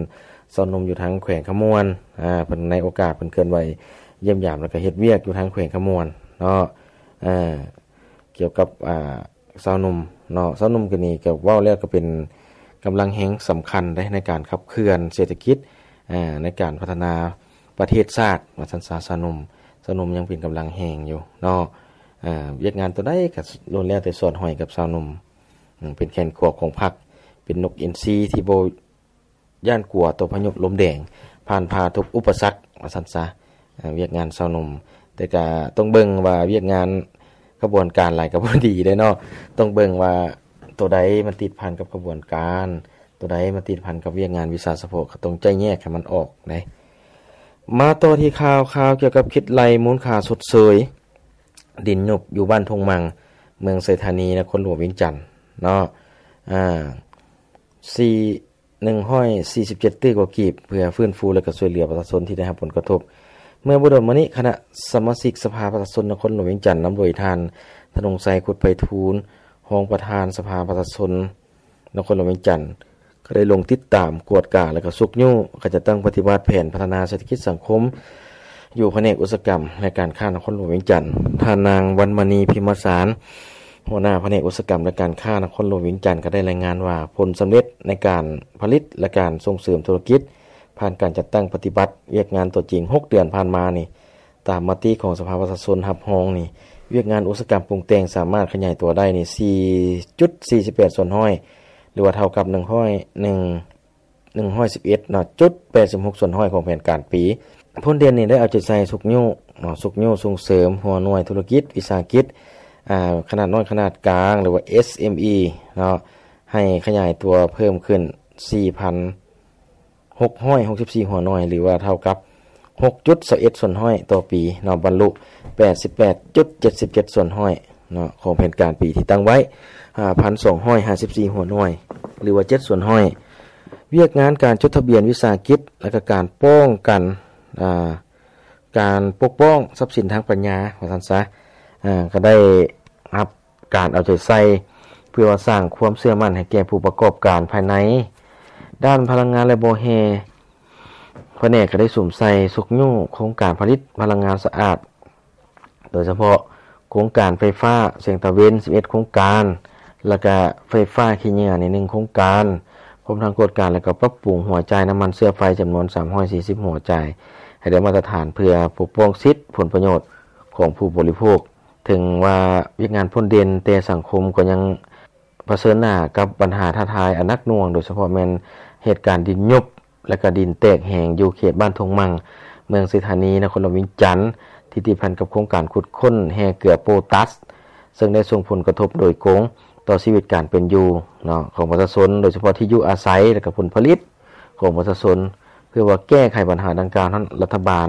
ຊາວໜຸ່ມຢູ່ທາງແຂວງຄຳມ່ວນ, ອາ, ເພິ່ນໃນໂອກາດເພິ່ນເຄື່ອນໄຫວຢ້ຽມຢາມ ແລ້ວກໍເຮັດວຽກຢູ່ທາງແຂວງຄຳມ່ວນເນາະ, ອາ, ກ່ຽວກັບ, ອາ, ຊາວໜຸ່ມເນາະ, ຊາວໜຸ່ມກໍນີ້ກໍເວົ້າແລ້ວກໍເປັນກຳລັງແຮງສຳຄັນເດ້ໃນການຂັບເຄື່ອນເສດຖະກິດ, ອາ, ໃນການພັດທະນາປະເທດຊາດວ່າຊັ້ນຊະ, ຊາວໜຸ່ມ, ຊາວໜຸ່ມຍັງເປັນກຳລັງແຮງຢູ່ເນາະ, ອາ, ວຽກງານຕົວໃດກໍລ້ວນແລ້ວແຕ່ສອດຫ້ອຍກັບຊາວໜຸ່ມ, ອາ, ເປັນແຂນຂວາຂອງພັກ, ເປັນນົກອິນຊີທີ່ບໍ່ ຢ້ານກົວຕໍ່ພາຍຸລົມແດງ, ຜ່ານຜ່າທຸກອຸປະສັກວ່າຊັ້ນຊະ, ວຽກງານຊາວໜຸ່ມ. ແຕ່ກະຕ້ອງເບິ່ງວ່າວຽກງານຂະບວນການຫຼາຍກໍບໍ່ດີເດ້ເນາະ, ຕ້ອງເບິ່ງວ່າ ໂຕໃດມັນຕິດພັນກັບຂະບວນການ, ໂຕໃດມັນຕິດພັນກັບວຽກງານວິຊາສະເພາະ ກໍຕ້ອງໄຈ້ແຍກໃຫ້ມັນອອກເດ້. ມາຕໍ່ທີ່ຂ່າວ, ຂ່າວກ່ຽວກັບຄິດໄລ່ມູນຄ່າຊົດເຊີຍດິນຍຸບຢູ່ບ້ານທົ່ງມັງ ເມືອງໄຊທານີ ນະຄອນຫຼວງວຽງຈັນເນາະ, ອາ ສີ່ ໜຶ່ງຮ້ອຍສີ່ສິບເຈັດຕື້ກວ່າກີບ ເພື່ອຟື້ນຟູ ແລະ ກໍຊ່ວຍເຫຼືອປະຊາຊົນທີ່ໄດ້ຮັບຜົນກະທົບ. ເມື່ອບໍ່ດົນມານີ້ ຄະນະສະມາຊິກສະພາປະຊາຊົນນະຄອນຫຼວງວຽງຈັນ ນຳໂດຍທ່ານ ທະນົງໄຊ ຄຸດໄພທູນ ຮອງປະທານສະພາປະຊາຊົນນະຄອນຫຼວງວຽງຈັນ ກໍໄດ້ລົງຕິດຕາມ, ກວດກາ ແລະ ກໍຊຸກຍູ້ການຈັດຕັ້ງປະຕິບັດແຜນພັດທະນາເສດຖະກິດສັງຄົມ ຢູ່ພະແນກອຸດສາຫະກຳ ແລະ ການຄ້ານະຄອນຫຼວງວຽງຈັນ. ທ່ານນາງ ວັນມະນີ ພິມມະສານ ຫົວໜ້າພະແນກອຸດສາຫະກຳ ແລະ ການຄ້ານະຄອນຫຼວງວຽງຈັນ ກໍໄດ້ລາຍງານວ່າ ຜົນສຳເລັດໃນການຜະລິດ ແລະ ການສົ່ງເສີມທຸລະກິດຜ່ານການຈັດຕັ້ງປະຕິບັດວຽກງານຕົວຈິງ ຫົກເດືອນຜ່ານມານີ້, ຕາມມະຕິຂອງສະພາປະຊາຊົນຮັບຮອງນີ້, ວຽກງານອຸດສາຫະກຳປຸງແຕ່ງສາມາດຂະຫຍາຍຕົວໄດ້ນີ້ ສີ່ຈຸດສີ່ສິບແປດສ່ວນຮ້ອຍ ຫຼືວ່າເທົ່າກັບ ໜຶ່ງຮ້ອຍໜຶ່ງ ໜຶ່ງຮ້ອຍສິບເອັດເນາະ ຈຸດແປດສິບຫົກສ່ວນຮ້ອຍຂອງແຜນການປີ. ຜົນເດັ່ນນີ້ໄດ້ເອົາໃຈໃສ່ຊຸກຍູ້ເນາະ ຊຸກຍູ້ສົ່ງເສີມຫົວໜ່ວຍທຸລະກິດວິສາຫະກິດ ອາ ຂະໜາດນ້ອຍຂະໜາດກາງ ຫຼືວ່າ ເອສເອັມອີ ເນາະ ໃຫ້ຂະຫຍາຍຕົວເພີ່ມຂຶ້ນ ສີ່ພັນຫົກຮ້ອຍຫົກສິບສີ່ຫົວໜ່ວຍ ຫຼືວ່າເທົ່າກັບ ຫົກຈຸດຊາວເອັດສ່ວນຮ້ອຍຕໍ່ປີເນາະ, ບັນລຸ ແປດສິບແປດຈຸດເຈັດສິບເຈັດສ່ວນຮ້ອຍເນາະ ຂອງແຜນການປີທີ່ຕັ້ງໄວ້ ຫ້າພັນສອງຮ້ອຍຫ້າສິບສີ່ຫົວໜ່ວຍ ຫຼືວ່າ ເຈັດສ່ວນຮ້ອຍ. ວຽກງານການຈົດທະບຽນວິສາຫະກິດ ແລະ ກະການປ້ອງກັນ ອາ ການປົກປ້ອງຊັບສິນທາງປັນຍາ ວ່າຊັ້ນຊະ ອາ ກະໄດ້ຮັບການເອົາໃຈໃສ່ ເພື່ອວ່າສ້າງຄວາມເຊື່ອໝັ້ນໃຫ້ແກ່ຜູ້ປະກອບການພາຍໃນ. ດ້ານພະລັງງານ ແລະ ບໍ່ແຮ່ ພະແນກກະໄດ້ສຸມໃສ່ຊຸກຍູ້ໂຄງການຜະລິດພະລັງງານສະອາດ ໂດຍສະເພາະໂຄງການໄຟຟ້າແສງຕາເວັນ ສິບເອັດໂຄງການ ແລະ ກະໄຟຟ້າຂີ້ເຫຍື້ອໃນໜຶ່ງໂຄງການ, ພ້ອມທັງກວດກາ ແລະ ກະປັບປຸງຫົວຈ່າຍນ້ຳມັນເຊື້ອໄຟຈຳນວນສາມຮ້ອຍສີ່ສິບຫົວຈ່າຍ ໃຫ້ໄດ້ມາດຕະຖານ ເພື່ອປົກປ້ອງສິດຜົນປະໂຫຍດຂອງຜູ້ບໍລິໂພກ. ເຖິງວ່າວຽກງານພົ້ນເດັ່ນ, ແຕ່ສັງຄົມກໍຍັງ ປະເຊີນໜ້າກັບບັນຫາທ້າທາຍອັນໜັກໜ່ວງ, ໂດຍສະເພາະແມ່ນເຫດການດິນຍຸບ ແລະ ກະດິນແຕກແຫງຢູ່ເຂດບ້ານທົ່ງມັງ, ເມືອງໄຊທານີ, ນະຄອນຫຼວງວຽງຈັນ, ທີ່ຕິດພັນກັບໂຄງການຂຸດຄົ້ນແຮ່ເກືອໂປຕັສ, ເຊິ່ງໄດ້ສົ່ງຜົນກະທົບໂດຍກົງຕໍ່ຊີວິດການເປັນຢູ່ເນາະ ຂອງປະຊາຊົນ, ໂດຍສະເພາະທີ່ຢູ່ອາໄສ ແລະ ກະຜົນຜະລິດຂອງປະຊາຊົນ. ເພື່ອວ່າແກ້ໄຂບັນຫາດັ່ງກ່າວນັ້ນ, ລັດຖະບານ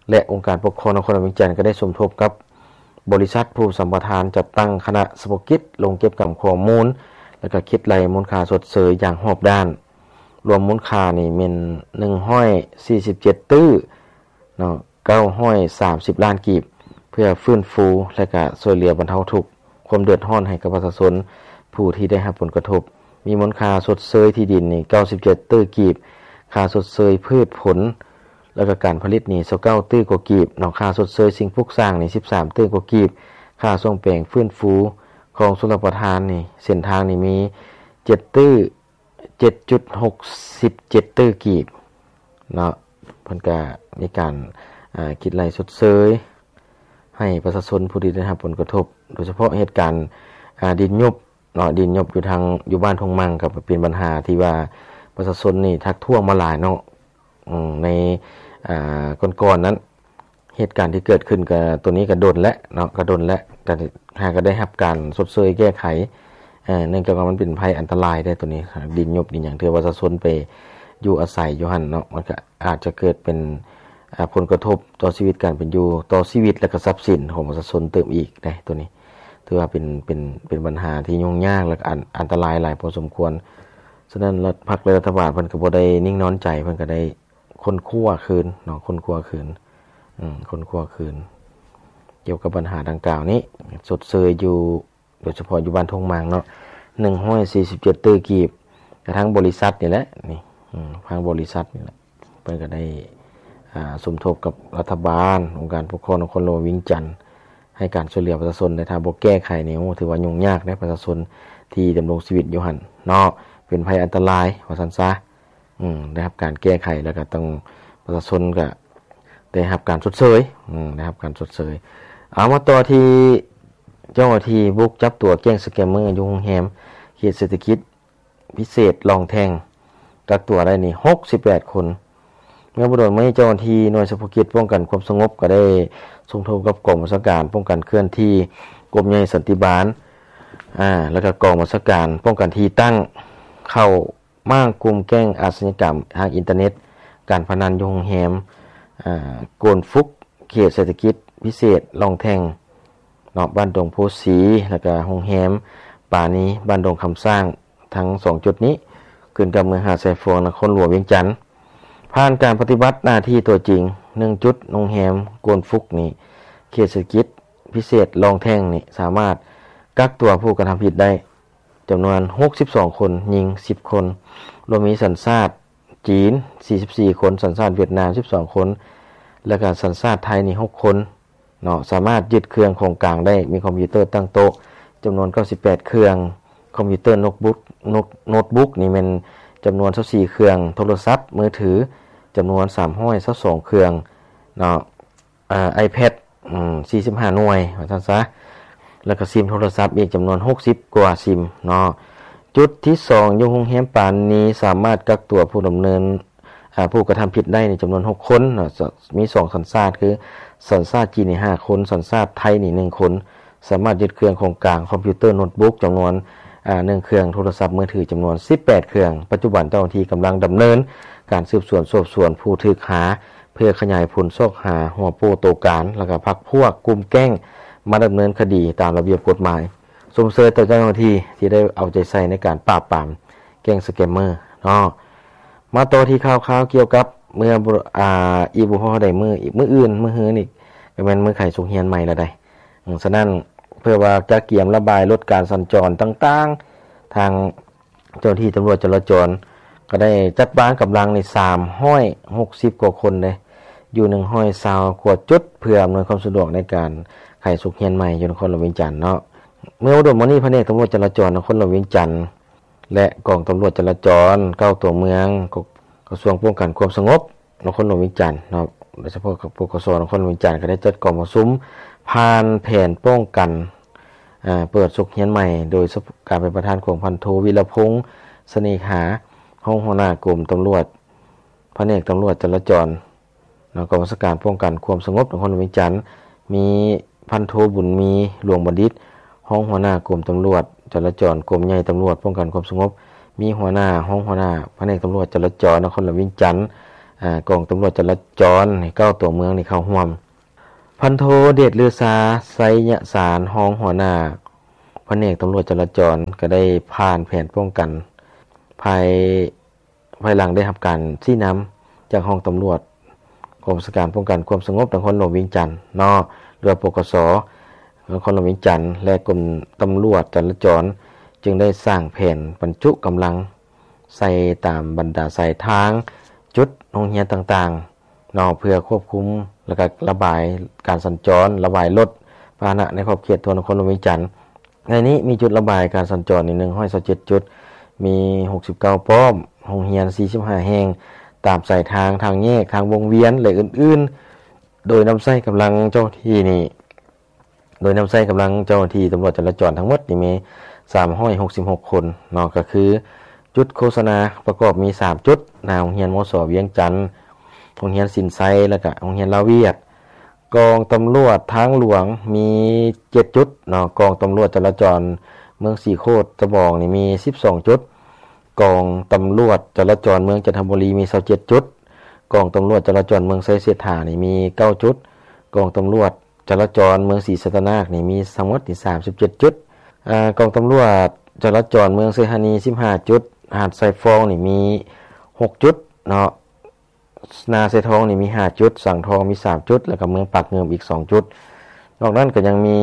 ແລະ ອົງການປົກຄອງນະຄອນຫຼວງວຽງຈັນ ກໍໄດ້ສົມທົບກັບບໍລິສັດຜູ້ສຳປະທານ ຈັດຕັ້ງຄະນະສະເພາະກິດລົງເກັບກຳຂໍ້ມູນ ແລະ ກະຄິດໄລ່ມູນຄ່າຊົດເຊີຍຢ່າງຮອບດ້ານ. ລວມມູນຄ່ານີ້ແມ່ນ ໜຶ່ງຮ້ອຍສີ່ສິບເຈັດຕື້ເນາະ ເກົ້າຮ້ອຍສາມສິບລ້ານກີບ ເພື່ອຟື້ນຟູ ແລະ ກະຊ່ວຍເຫຼືອບັນເທົາທຸກ ຄວາມເດືອດຮ້ອນໃຫ້ກັບປະຊາຊົນຜູ້ທີ່ໄດ້ຮັບຜົນກະທົບ. ມີມູນຄ່າຊົດເຊີຍທີ່ດິນນີ້ ເກົ້າສິບເຈັດຕື້ກີບ, ຄ່າຊົດເຊີຍພືດຜົນ ແລ້ວກໍການຜະລິດນີ້ ຊາວເກົ້າຕື້ກວ່າກີບເນາະ, ຄ່າຊົດເຊີຍສິ່ງປຸກສ້າງນີ້ ສິບສາມຕື້ກວ່າກີບ, ຄ່າສ້ອມແປງຟື້ນຟູຂອງຊົນລະປະທານນີ້ ເສັ້ນທາງນີ້ມີ ເຈັດຕື້ ເຈັດຈຸດຫົກສິບເຈັດຕື້ກີບເນາະ. ເພິ່ນກະມີການ ອາ ຄິດໄລ່ຊົດເຊີຍໃຫ້ປະຊາຊົນຜູ້ທີ່ໄດ້ຮັບຜົນກະທົບ ໂດຍສະເພາະເຫດການ ອາ ດິນຍຸບ ເນາະ ດິນຍຸບຢູ່ທາງ ຢູ່ບ້ານທົ່ງມັງ ກໍເປັນບັນຫາທີ່ວ່າປະຊາຊົນນີ້ທັກທ້ວງມາຫຼາຍເນາະ. ອືມ ໃນ ອາ ກ່ອນໆນັ້ນ ເຫດການທີ່ເກີດຂຶ້ນກໍ ໂຕນີ້ກໍດົນແລ້ວເນາະ ກໍດົນແລ້ວ ກໍຫາກໍໄດ້ຮັບການຊົດເຊີຍແກ້ໄຂ ເອີ ເນື່ອງຈາກວ່າມັນເປັນໄພອັນຕະລາຍເດ້ ໂຕນີ້ ດິນຍຸບດິນຫຍັງ ເທື່ອປະຊາຊົນໄປຢູ່ອາໄສຢູ່ຫັ້ນເນາະ ມັນກໍອາດຈະເກີດເປັນ ອາ ຜົນກະທົບຕໍ່ຊີວິດການເປັນຢູ່ ຕໍ່ຊີວິດ ແລະ ກໍຊັບສິນຂອງປະຊາຊົນເຕີມອີກເດ້ ໂຕນີ້ ຖືວ່າເປັນ ເປັນ ເປັນບັນຫາທີ່ຫຍຸ້ງຍາກ ແລະ ອັນ ອັນຕະລາຍຫຼາຍພໍສົມຄວນ. ສະນັ້ນ ລັດ ພັກ ແລະ ລັດຖະບານເພິ່ນກໍບໍ່ໄດ້ນິ່ງນອນໃຈ ເພິ່ນກໍໄດ້ຄົ້ນຄວ້າຄືນເນາະ ຄົ້ນຄວ້າຄືນ ອືມ ຄົ້ນຄວ້າຄືນ ກ່ຽວກັບບັນຫາດັ່ງກ່າວນີ້ ຊົດເຊີຍຢູ່ ໂດຍສະເພາະຢູ່ບ້ານທົ່ງມັງເນາະ ໜຶ່ງຮ້ອຍສີ່ສິບເຈັດຕື້ກີບ ກະທາງບໍລິສັດນີ້ແຫຼະ ນີ້ ອືມ ທາງບໍລິສັດນີ້ແຫຼະ ເພິ່ນກໍໄດ້ ອາ ສົມທົບກັບລັດຖະບານ ອົງການປົກຄອງນະຄອນຫຼວງວຽງຈັນ ໃຫ້ການຊ່ວຍເຫຼືອປະຊາຊົນ ແລະ ຖ້າບໍ່ແກ້ໄຂນີ້ ໂອ້ ຖືວ່າຫຍຸ້ງຍາກເດ້ ປະຊາຊົນທີ່ດຳລົງຊີວິດຢູ່ຫັ້ນເນາະ ເປັນໄພອັນຕະລາຍ ວ່າຊັ້ນຊະ. ອືມ ໄດ້ຮັບການແກ້ໄຂ ແລ້ວກໍຕ້ອງ ປະຊາຊົນກໍໄດ້ຮັບການຊົດເຊີຍ ອືມ ໄດ້ຮັບການຊົດເຊີຍ. ເອົາ ມາຕໍ່ທີ່ເຈົ້າໜ້າທີ່ບຸກຈັບຕົວແກ້ງສະແກມເມີຢູ່ໂຮງແຮມເຂດເສດຖະກິດພິເສດລ່ອງແທ່ງ ກັກຕົວໄດ້ນີ້ຫົກສິບແປດຄົນ. ເມື່ອບໍ່ດົນມານີ້ ເຈົ້າໜ້າທີ່ໜ່ວຍສະເພາະກິດປ້ອງກັນຄວາມສະຫງົບ ກໍໄດ້ສົມທົບກັບກອງບັນຊາການປ້ອງກັນເຄື່ອນທີ່ ກົມໃຫຍ່ສັນຕິບານ ອາ ແລ້ວກໍກອງບັນຊາການປ້ອງກັນທີ່ຕັ້ງ ເຂົ້າມ້າງກຸ່ມແກ້ງອາຊະຍາກຳທາງອິນເຕີເນັດ, ການພະນັນຢູ່ໂຮງແຮມ ອາ ໂກນຟຸກ ເຂດເສດຖະກິດພິເສດລ່ອງແທ່ງເນາະ ບ້ານດົງໂພສີ ແລ້ວກະໂຮງແຮມປານີ ບ້ານດົງຄຳຊ້າງ. ທັງສອງຈຸດນີ້ຂຶ້ນກັບເມືອງຫາດຊາຍຟອງ ນະຄອນຫຼວງວຽງຈັນ. ຜ່ານການປະຕິບັດໜ້າທີ່ຕົວຈິງ ໜຶ່ງຈຸດ ໂຮງແຮມໂກນຟຸກນີ້ ເຂດເສດຖະກິດພິເສດລ່ອງແທ່ງນີ້ ສາມາດກັກຕົວຜູ້ກະທຳຜິດໄດ້ ຈຳນວນຫົກສິບສອງຄົນ, ຍິງສິບຄົນ, ລວມມີສັນຊາດຈີນສີ່ສິບສີ່ຄົນ, ສັນຊາດຫວຽດນາມສິບສອງຄົນ ແລະກະສັນຊາດໄທນີ້ຫົກຄົນເນາະ. ສາມາດຍຶດເຄື່ອງຂອງກາງໄດ້ ມີຄອມພິວເຕີຕັ້ງໂຕະຈຳນວນເກົ້າສິບແປດເຄື່ອງ, ຄອມພິວເຕີໂນ້ດບຸກ ໂນ້ດ ໂນ້ດບຸກນີ້ແມ່ນຈຳນວນຊາວສີ່ເຄື່ອງ, ໂທລະສັບມືຖືຈຳນວນສາມຮ້ອຍຊາວສອງເຄື່ອງເນາະ. ອາ ໄອແພດ ອືມ ສີ່ສິບຫ້າໜ່ວຍ ວ່າຊັ້ນຊະ ແລ້ວກໍຊິມໂທລະສັບອີກຈຳນວນຫົກສິບກວ່າຊິມເນາະ. ຈຸດທີສອງ ຢູ່ໂຮງແຮມປານີ ສາມາດກັກຕົວຜູ້ດຳເນີນ ອາ ຜູ້ກະທຳຜິດໄດ້ໃນຈຳນວນຫົກຄົນເນາະ, ມີສອງສັນຊາດ ຄືສັນຊາດຈີນນີ້ຫ້າຄົນ, ສັນຊາດໄທນີ້ໜຶ່ງຄົນ. ສາມາດຍຶດເຄື່ອງຂອງກາງ ຄອມພິວເຕີໂນ້ດບຸກຈຳນວນ ອາ ໜຶ່ງເຄື່ອງ, ໂທລະສັບມືຖືຈຳນວນສິບແປດເຄື່ອງ. ປັດຈຸບັນເຈົ້າໜ້າທີ່ກຳລັງດຳເນີນການສືບສວນສອບສວນຜູ້ຖືກຫາ ເພື່ອຂະຫຍາຍຜົນຊອກຫາຫົວໂປ້ໂຕການ ແລ້ວກໍພັກພວກກຸ່ມແກ້ງມາດຳເນີນຄະດີຕາມລະບຽບກົດໝາຍ. ຊົມເຊີຍຕໍ່ເຈົ້າໜ້າທີ່ທີ່ໄດ້ເອົາໃຈໃສ່ໃນການປາບປາມແກ້ງສະແກມເມີເນາະ. ມາຕໍ່ທີ່ຂ່າວຄາວກ່ຽວກັບເມື່ອ ອາ ອີກບໍ່ພໍໄດ້ມື້ ມື້ອື່ນ ມື້ຮືນີ້ກໍແມ່ນມື້ໄຂສົກຮຽນໃໝ່ແລ້ວໃດ໋. ສະນັ້ນ ເພື່ອວ່າຈະກຽມລະບາຍລົດການສັນຈອນຕ່າງໆ ທາງ ເຈົ້າໜ້າທີ່ຕຳຫຼວດຈະລາຈອນກໍໄດ້ຈັດວາງກຳລັງໃນສາມຮ້ອຍຫົກສິບກວ່າຄົນເດ້ ຢູ່ໜຶ່ງຮ້ອຍຊາວກວ່າຈຸດ ເພື່ອອຳນວຍຄວາມສະດວກໃນການໄຂສົກຮຽນໃໝ່ຢູ່ນະຄອນຫຼວງວຽງຈັນເນາະ. ເມື່ອບໍ່ດົນມານີ້ ພະແນກຕຳຫຼວດຈະລາຈອນນະຄອນຫຼວງວຽງຈັນ ແລະ ກອງຕຳຫຼວດຈະລາຈອນເກົ້າຕົວເມືອງ ກະ ກະຊວງປ້ອງກັນຄວາມສະຫງົບ ນະຄອນຫຼວງວຽງຈັນເນາະ ໂດຍສະເພາະ ປກສ ນະຄອນຫຼວງວຽງຈັນ ກໍໄດ້ຈັດກອງປະຊຸມຜ່ານແຜນປ້ອງກັນ ເປີດສົກຮຽນໃໝ່ ໂດຍການເປັນປະທານຂອງພັນໂທ ວິລະພົງ ສະເໜ່ຫາ ຮອງຫົວໜ້າກົມຕຳຫຼວດ ພະແນກຕຳຫຼວດຈະລາຈອນເນາະ ກອງບັນຊາການປ້ອງກັນຄວາມສະຫງົບນະຄອນຫຼວງວຽງຈັນ, ມີພັນໂທ ບຸນມີ ຫຼວງບັນດິດ ຮອງຫົວໜ້າກົມຕຳຫຼວດຈະລາຈອນ ກົມໃຫຍ່ຕຳຫຼວດປ້ອງກັນຄວາມສະຫງົບ, ມີຫົວໜ້າ ຮອງຫົວໜ້າພະແນກຕຳຫຼວດຈະລາຈອນນະຄອນຫຼວງວຽງຈັນ, ອາ ກອງຕຳຫຼວດຈະລາຈອນໃນເກົ້າຕົວເມືອງນີ້ເຂົ້າຮ່ວມ. ພັນໂທ ເດດລືຊາ ໄຊຍະສານ ຮອງຫົວໜ້າພະແນກຕຳຫຼວດຈະລາຈອນ ກໍໄດ້ຜ່ານແຜນປ້ອງກັນ ພາຍ ພາຍຫຼັງໄດ້ຮັບການຊີ້ນຳຈາກຫ້ອງຕຳຫຼວດ ກອງບັນຊາການປ້ອງກັນຄວາມສະຫງົບນະຄອນຫຼວງວຽງຈັນເນາະ ຫຼືວ່າ ປກສ ນະຄອນຫຼວງວຽງຈັນ ແລະ ກົມຕຳຫຼວດຈະລາຈອນ ຈຶ່ງໄດ້ສ້າງແຜນບັນຈຸກຳລັງໃສ່ຕາມບັນດາສາຍທາງ, ຈຸດໂຮງຮຽນຕ່າງໆ ເນາະ ເພື່ອຄວບຄຸມ ແລ້ວກໍລະບາຍການສັນຈອນ, ລະບາຍລົດພາຫະນະໃນຂອບເຂດທົ່ວນະຄອນຫຼວງວຽງຈັນ. ໃນນີ້ມີຈຸດລະບາຍການສັນຈອນນີ້ ໜຶ່ງຮ້ອຍຊາວເຈັດຈຸດ, ມີຫົກສິບເກົ້າປ້ອມ, ໂຮງຮຽນສີ່ສິບຫ້າແຫ່ງ, ຕາມສາຍທາງ, ທາງແຍກ, ທາງວົງວຽນ ແລະ ອື່ນໆ, ໂດຍນຳໃຊ້ກຳລັງເຈົ້າໜ້າທີ່ນີ້ ໂດຍນຳໃຊ້ກຳລັງເຈົ້າໜ້າທີ່ຕຳຫຼວດຈະລາຈອນທັງໝົດນີ້ມີສາມຮ້ອຍຫົກສິບຫົກຄົນເນາະ, ກໍຄືຈຸດໂຄສະນາປະກອບມີສາມຈຸດ, ໜ້າໂຮງຮຽນ ມສ ວຽງຈັນ, ໂຮງຮຽນສິນໄຊ ແລ້ວກະໂຮງຮຽນລາວຫວຽດ. ກອງຕຳຫຼວດທາງຫຼວງມີເຈັດຈຸດເນາະ, ກອງຕຳຫຼວດຈະລາຈອນເມືອງສີໂຄດຕະບອງນີ້ມີສິບສອງຈຸດ, ກອງຕຳຫຼວດຈະລາຈອນເມືອງຈັນທະບູລີມີຊາວເຈັດຈຸດ, ກອງຕຳຫຼວດຈະລາຈອນເມືອງໄຊເສດຖານີ້ມີເກົ້າຈຸດ, ກອງຕຳຫຼວດ ຈະລາຈອນເມືອງສີສັດຕະນາກນີ້ມີທັງໝົດນີ້ສາມສິບເຈັດຈຸດ. ອາ ກອງຕຳຫຼວດຈະລາຈອນເມືອງໄຊທານີສິບຫ້າຈຸດ, ຫາດຊາຍຟອງນີ້ມີຫົກຈຸດເນາະ, ນາຊາຍທອງນີ້ມີຫ້າຈຸດ, ສັງທອງມີສາມຈຸດ ແລ້ວກໍເມືອງປາກງື່ມອີກສອງຈຸດ. ນອກນັ້ນກໍຍັງມີ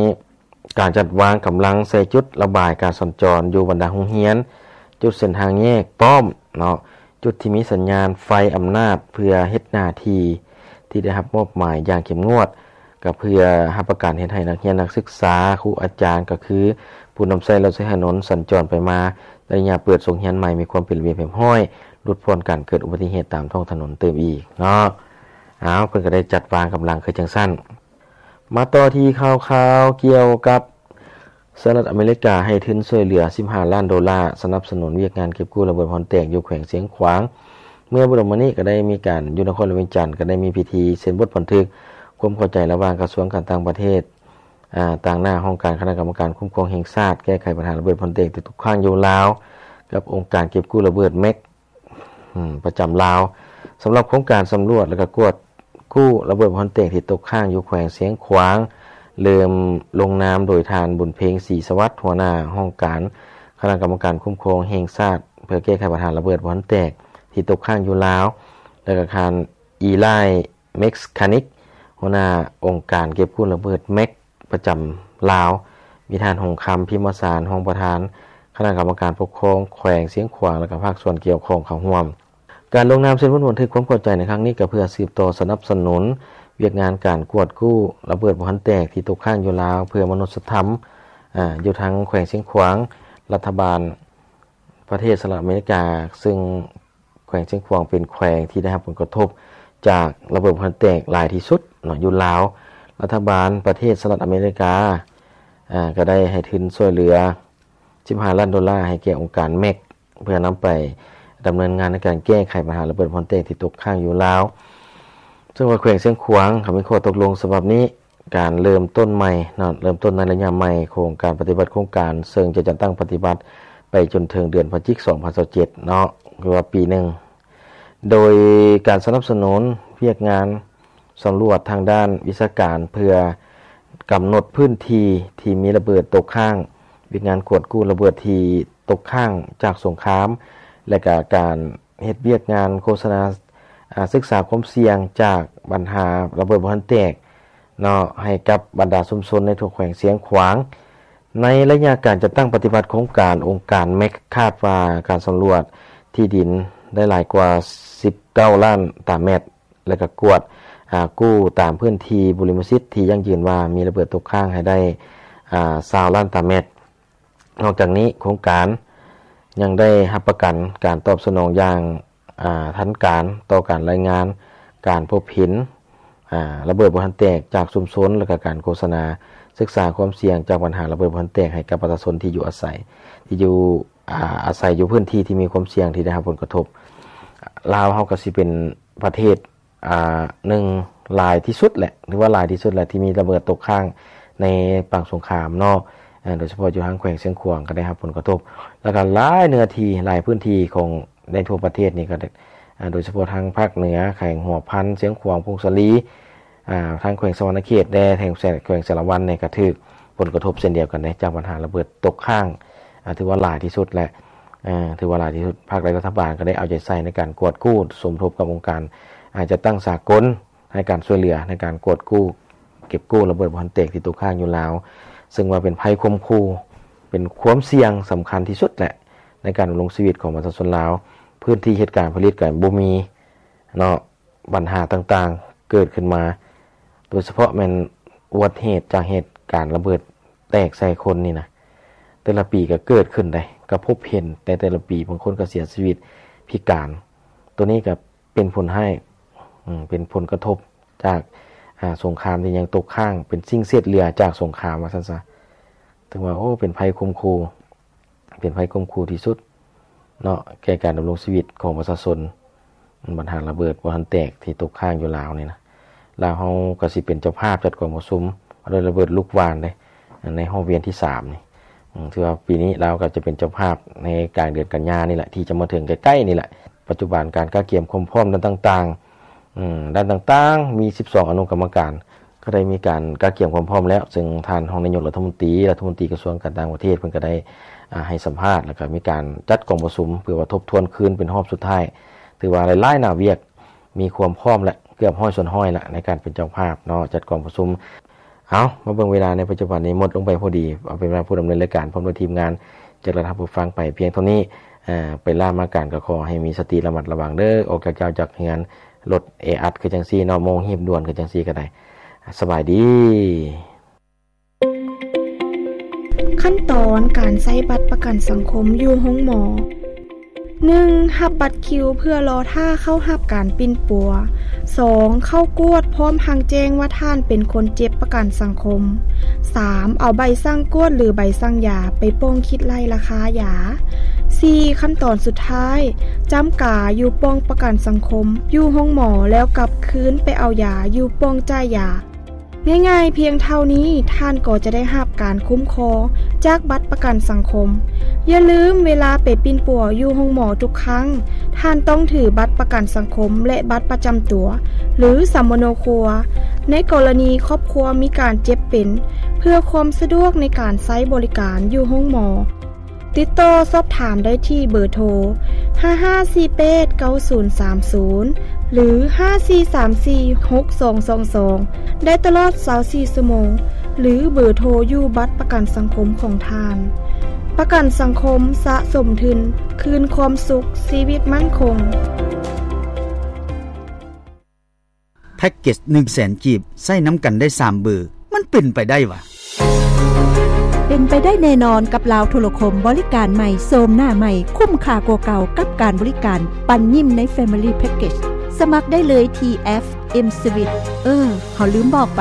ການຈັດວາງກຳລັງໃສ່ຈຸດລະບາຍການສັນຈອນຢູ່ບັນດາໂຮງຮຽນ, ຈຸດເສັ້ນທາງແຍກ, ປ້ອມເນາະ, ຈຸດທີ່ມີສັນຍານໄຟອຳນາດ ເພື່ອເຮັດໜ້າທີ່ທີ່ໄດ້ຮັບມອບໝາຍຢ່າງເຂັ້ມງວດ, ກໍເພື່ອຮັບປະກັນເຮັດໃຫ້ນັກຮຽນນັກສຶກສາ, ຄູອາຈານ, ກໍຄືຜູ້ນຳໃຊ້ລົດໃຊ້ຖະໜົນສັນຈອນໄປມາໃນໄລຍະເປີດສົກຮຽນໃໝ່ມີຄວາມເປັນລະບຽບຮຽບຮ້ອຍ, ຫຼຸດຜ່ອນການເກີດອຸບັດຕິເຫດຕາມທ້ອງຖະໜົນຕື່ມອີກເນາະ. ອ້າວ ເພິ່ນກໍໄດ້ຈັດວາງກຳລັງຄືຈັ່ງຊັ້ນ. ມາຕໍ່ທີ່ຂ່າວຄາວກ່ຽວກັບ ສະຫະລັດອາເມລິກາໃຫ້ທຶນຊ່ວຍເຫຼືອສິບຫ້າລ້ານໂດລາ ສະໜັບສະໜູນວຽກງານເກັບກູ້ລະເບີດບ່ອນແຕກຢູ່ແຂວງຊຽງຂວາງ. ເມື່ອບໍ່ດົນມານີ້ກໍໄດ້ມີການ ຢູ່ນະຄອນຫຼວງວຽງຈັນ ກໍໄດ້ມີພິທີເຊັນບົດບັນທຶກຄວາມເຂົ້າໃຈລະຫວ່າງກະຊວງການຕ່າງປະເທດ ອາ ຕາງໜ້າຫ້ອງການຄະນະກຳມະການຄຸ້ມຄອງແຫ່ງຊາດ ແກ້ໄຂບັນຫາລະເບີດບ່ອນແຕກທີ່ຕົກຄ້າງຢູ່ລາວ ກັບອົງການເກັບກູ້ລະເບີດ ແມັກ ອາ ປະຈຳລາວ ສຳລັບໂຄງການສຳຫຼວດ ແລະ ກະກວດກູ້ລະເບີດບ່ອນແຕກທີ່ຕົກຄ້າງຢູ່ແຂວງຊຽງຂວາງ ເລີ່ມລົງນາມໂດຍທ່ານ ບຸນເພັງ ສີສະຫວັດ ຫົວໜ້າຫ້ອງການຄະນະກຳມະການຄຸ້ມຄອງແຫ່ງຊາດ ເພື່ອແກ້ໄຂບັນຫາລະເບີດບ່ອນແຕກທີ່ຕົກຄ້າງຢູ່ລາວ ແລະ ກະທ່ານ ອີລາຍ ເມັກຄານິກ ຫົວໜ້າອົງການເກັບກູ້ລະເບີດ ແມັກ ປະຈຳລາວ, ມີທ່ານ ຫົງຄຳ ພິມມະສານ ຮອງປະທານຄະນະກຳມະການປົກຄອງແຂວງຊຽງຂວາງ ແລະ ກະພາກສ່ວນກ່ຽວຂ້ອງເຂົ້າຮ່ວມ. ການລົງນາມເຊັນບົດບັນທຶກຄວາມເຂົ້າໃຈໃນຄັ້ງນີ້ ກະເພື່ອສືບຕໍ່ສະໜັບສະໜູນວຽກງານການກວດກູ້ລະເບີດບໍ່ທັນແຕກທີ່ຕົກຄ້າງຢູ່ລາວ ເພື່ອມະນຸດສະທຳ ອາ ຢູ່ທາງແຂວງຊຽງຂວາງ. ລັດຖະບານປະເທດສະຫະລັດອາເມລິກາ ເຊິ່ງ ແຂວງຊຽງຂວາງເປັນແຂວງທີ່ໄດ້ຮັບຜົນກະທົບຈາກລະເບີດບໍ່ທັນແຕກຫຼາຍທີ່ສຸດເນາະ ຢູ່ລາວ. ລັດຖະບານປະເທດສະຫະລັດອາເມລິກາ ອາ ກໍໄດ້ໃຫ້ທຶນຊ່ວຍເຫຼືອສິບຫ້າລ້ານໂດລາໃຫ້ແກ່ອົງການ ແມັກ ເພື່ອນຳໄປດຳເນີນງານໃນການແກ້ໄຂບັນຫາລະເບີດບໍ່ທັນແຕກທີ່ຕົກຄ້າງຢູ່ລາວ. ເຊິ່ງວ່າແຂວງຊຽງຂວາງກໍມີຂໍ້ຕົກລົງສະບັບນີ້ ການເລີ່ມຕົ້ນໃໝ່ເນາະ ເລີ່ມຕົ້ນໃນໄລຍະໃໝ່ຂອງການປະຕິບັດໂຄງການ ເຊິ່ງຈະຈັດຕັ້ງປະຕິບັດໄປຈົນເຖິງເດືອນພະຈິກ ສອງພັນຊາວເຈັດເນາະ ຄືວ່າປີໜຶ່ງ ໂດຍການສະໜັບສະໜູນວຽກງານສຳຫຼວດທາງດ້ານວິຊາການ ເພື່ອກຳນົດພື້ນທີ່ທີ່ມີລະເບີດຕົກຄ້າງ, ວຽກງານກວດກູ້ລະເບີດທີ່ຕົກຄ້າງຈາກສົງຄາມ ແລະ ກະການເຮັດວຽກງານໂຄສະນາ ອາ ສຶກສາຄວາມສ່ຽງຈາກບັນຫາລະເບີດບໍ່ທັນແຕກ ເນາະ ໃຫ້ກັບບັນດາຊຸມຊົນໃນທົ່ວແຂວງຊຽງຂວາງ. ໃນໄລຍະການຈັດຕັ້ງປະຕິບັດໂຄງການ, ອົງການ ແມັກ ຄາດວ່າການສຳຫຼວດທີ່ດິນໄດ້ຫຼາຍກວ່າສິບເກົ້າລ້ານຕາແມັດ ແລະ ກະກວດ ອາ ກູ້ຕາມພື້ນທີ່ບຸລິມະສິດທີ່ຢັ້ງຢືນວ່າມີລະເບີດຕົກຄ້າງໃຫ້ໄດ້ ອາ ຊາວລ້ານຕາແມັດ. ນອກຈາກນີ້, ໂຄງການຍັງໄດ້ຮັບປະກັນການຕອບສະໜອງຢ່າງ ອາ ທັນການຕໍ່ການລາຍງານການພົບເຫັນ ອາ ລະເບີດບໍ່ທັນແຕກຈາກຊຸມຊົນ ແລະ ກະການໂຄສະນາສຶກສາຄວາມສ່ຽງຈາກບັນຫາລະເບີດບໍ່ທັນແຕກໃຫ້ກັບປະຊາຊົນທີ່ຢູ່ອາໄສ ທີ່ຢູ່ ອາ ອາໄສຢູ່ພື້ນທີ່ທີ່ມີຄວາມສ່ຽງທີ່ໄດ້ຮັບຜົນກະທົບ. ລາວເຮົາກໍຊິເປັນປະເທດ ອາ ໜຶ່ງຫຼາຍທີ່ສຸດແຫຼະ ຫຼືວ່າຫຼາຍທີ່ສຸດແຫຼະ ທີ່ມີລະເບີດຕົກຄ້າງໃນປາງສົງຄາມເນາະ ອາ ໂດຍສະເພາະຢູ່ທາງແຂວງຊຽງຂວາງກໍໄດ້ຮັບຜົນກະທົບ ແລ້ວກໍຫຼາຍເນື້ອທີ່ ຫຼາຍພື້ນທີ່ຂອງໃນທົ່ວປະເທດນີ້ກໍ ອາ ໂດຍສະເພາະທາງພາກເໜືອ ແຂວງຫົວພັນ, ຊຽງຂວາງ, ຜົ້ງສາລີ ອາ ທາງແຂວງສະຫວັນນະເຂດແດ່ ແຂວງ ແຂວງສາລະວັນນີ້ກໍຖືກຜົນກະທົບເຊັ່ນດຽວກັນເດ້ ຈາກບັນຫາລະເບີດຕົກຄ້າງ ອາ ຖືວ່າຫຼາຍທີ່ສຸດແຫຼະ ອາ ຖືວ່າຫຼາຍທີ່ສຸດ. ພາກລັດ ລັດຖະບານກໍໄດ້ເອົາໃຈໃສ່ໃນການກວດກູ້ ສົມທົບກັບອົງການ ອາ ຈັດຕັ້ງສາກົນໃຫ້ການຊ່ວຍເຫຼືອໃນການກວດກູ້ ເກັບກູ້ລະເບີດບໍ່ທັນແຕກທີ່ຕົກຄ້າງຢູ່ລາວ ເຊິ່ງວ່າເປັນໄພຂົ່ມຂູ່ ເປັນຄວາມສ່ຽງສຳຄັນທີ່ສຸດແຫຼະ ໃນການດຳລົງຊີວິດຂອງປະຊາຊົນລາວ. ພື້ນທີ່ເຮັດການຜະລິດກໍບໍ່ມີເນາະ ບັນຫາຕ່າງໆເກີດຂຶ້ນມາ ໂດຍສະເພາະແມ່ນອຸບັດເຫດຈາກເຫດການລະເບີດແຕກໃສ່ຄົນນີ້ນະ ແຕ່ລະປີກໍເກີດຂຶ້ນໄດ໋ ກໍພົບເຫັນໃນແຕ່ລະປີ ບາງຄົນກໍເສຍຊີວິດພິການ. ໂຕນີ້ກໍເປັນຜົນຮ້າຍ ອາ ເປັນຜົນກະທົບຈາກ ອາ ສົງຄາມທີ່ຍັງຕົກຄ້າງ ເປັນສິ່ງເສດເຫຼືອຈາກສົງຄາມວ່າຊັ້ນຊະ. ຖືວ່າ ໂອ້ ເປັນໄພຂົ່ມຂູ່ ເປັນໄພຂົ່ມຂູ່ທີ່ສຸດເນາະ ແກ່ການດຳລົງຊີວິດຂອງປະຊາຊົນ ບັນຫາລະເບີດບໍ່ທັນແຕກທີ່ຕົກຄ້າງຢູ່ລາວນີ້ນະ. ລາວເຮົາກໍຊິເປັນເຈົ້າພາບຈັດກອງປະຊຸມ ເອົາດ້ວຍລະເບີດລູກຫວ່ານເດ້ ໃນຮອບວຽນທີສາມນີ້ ອາ ຖືວ່າປີນີ້ລາວກໍຈະເປັນເຈົ້າພາບໃນກາງເດືອນກັນຍານີ້ແຫຼະ ທີ່ຈະມາເຖິງໃກ້ໆນີ້ແຫຼະ. ປັດຈຸບັນການກະກຽມຄວາມພ້ອມດ້ານຕ່າງໆ ອາ ດ້ານຕ່າງໆ ມີສິບສອງອະນຸກຳມະການ ກໍໄດ້ມີການກະກຽມຄວາມພ້ອມແລ້ວ ເຊິ່ງທ່ານຮອງນາຍົກລັດຖະມົນຕີ ລັດຖະມົນຕີກະຊວງການຕ່າງປະເທດ ເພິ່ນກໍໄດ້ ອາ ໃຫ້ສຳພາດ ແລ້ວກໍມີການຈັດກອງປະຊຸມ ເພື່ອວ່າທົບທວນຄືນເປັນຮອບສຸດທ້າຍ. ຖືວ່າຫຼາຍໆໜ້າວຽກ ມີຄວາມພ້ອມແລ້ວ ເກືອບຮ້ອຍສ່ວນຮ້ອຍແລ້ວ ໃນການເປັນເຈົ້າພາບເນາະ ຈັດກອງປະຊຸມ. ເອົາ ມາເບິ່ງເວລາໃນປັດຈຸບັນນີ້ໝົດລົງໄປພໍດີ ເອົາເປັນວ່າຜູ້ດຳເນີນລາຍການພ້ອມດ້ວຍທີມງານຈະລາທ່ານຜູ້ຟັງໄປພຽງເທົ່ານີ້. ອາ ໄປລາມາການກໍຂໍໃຫ້ມີສະຕິລະມັດລະວັງເດີ ອອກຈາກເຈົ້າຈາກເຮືອນ ລົດແອອັດຄືຈັ່ງຊີ້ເນາະ ໂມງຮີບດ່ວນຄືຈັ່ງຊີ້ກໍໄດ້. ສະບາຍດີ. ຂັ້ນຕອນການໃຊ້ບັດປະກັນສັງຄົມຢູ່ໂຮງໝໍ. ໜຶ່ງ ຮັບບັດຄິວເພື່ອລໍຖ້າເຂົ້າຮັບການປິ່ນປົວ. ສອງ ເຂົ້າກວດພ້ອມທັງແຈ້ງວ່າທ່ານເປັນຄົນເຈັບປະກັນສັງຄົມ. ສາມ ເອົາໃບສັ່ງກວດ ຫຼື ໃບສັ່ງຢາໄປປ່ອງຄິດໄລ່ລາຄາຢາ. ສີ່ ຂັ້ນຕອນສຸດທ້າຍ ຈ້ຳກາຢູ່ປ່ອງປະກັນສັງຄົມ ຢູ່ໂຮງໝໍ ແລ້ວກັບຄືນໄປເອົາຢາຢູ່ປ່ອງຈ່າຍຢາ. ງ່າຍໆພຽງເທົ່ານີ້, ທ່ານກໍຈະໄດ້ຮັບການຄຸ້ມຄອງຈາກບັດປະກັນສັງຄົມ. ຢ່າລືມ, ເວລາໄປປິ່ນປົວຢູ່ໂຮງໝໍທຸກຄັ້ງ, ທ່ານຕ້ອງຖືບັດປະກັນສັງຄົມ ແລະ ບັດປະຈຳຕົວ ຫຼື ສຳມະໂນຄົວ ໃນກໍລະນີຄອບຄົວມີການເຈັບເປັນ, ເພື່ອຄວາມສະດວກໃນການໃຊ້ບໍລິການຢູ່ໂຮງໝໍ. ຕິດຕໍ່ສອບຖາມໄດ້ທີ່ເບີໂທ ຫ້າຫ້າສີ່ແປດເກົ້າສູນສາມສູນ ຫຼື ຫ້າສີ່ສາມສີ່ຫົກສອງສອງສອງ ໄດ້ຕະຫຼອດຊາວສີ່ຊົ່ວໂມງ ຫຼື ເບີໂທຢູ່ບັດປະກັນສັງຄົມຂອງທ່ານ. ປະກັນສັງຄົມສະສົມທຶນ ຄືນຄວາມສຸກ, ຊີວິດໝັ້ນຄົງ. ແພັກເກັດໜຶ່ງແສນກີບ ໃຊ້ນຳກັນໄດ້ສາມເບີ ມັນເປັນໄປໄດ້ຫວາ? ເປັນໄປໄດ້ແນ່ນອນກັບລາວໂທລະຄົມ, ບໍລິການໃໝ່, ໂສມໜ້າໃໝ່, ຄຸ້ມຄ່າກວ່າເກົ່າກັບການບໍລິການປັນຍິ້ມໃນ Family Package. ສະໝັກໄດ້ເລີຍທີ່ແອັບ M-Suite. ເອີ, ເຮົາລືມບອກໄປ,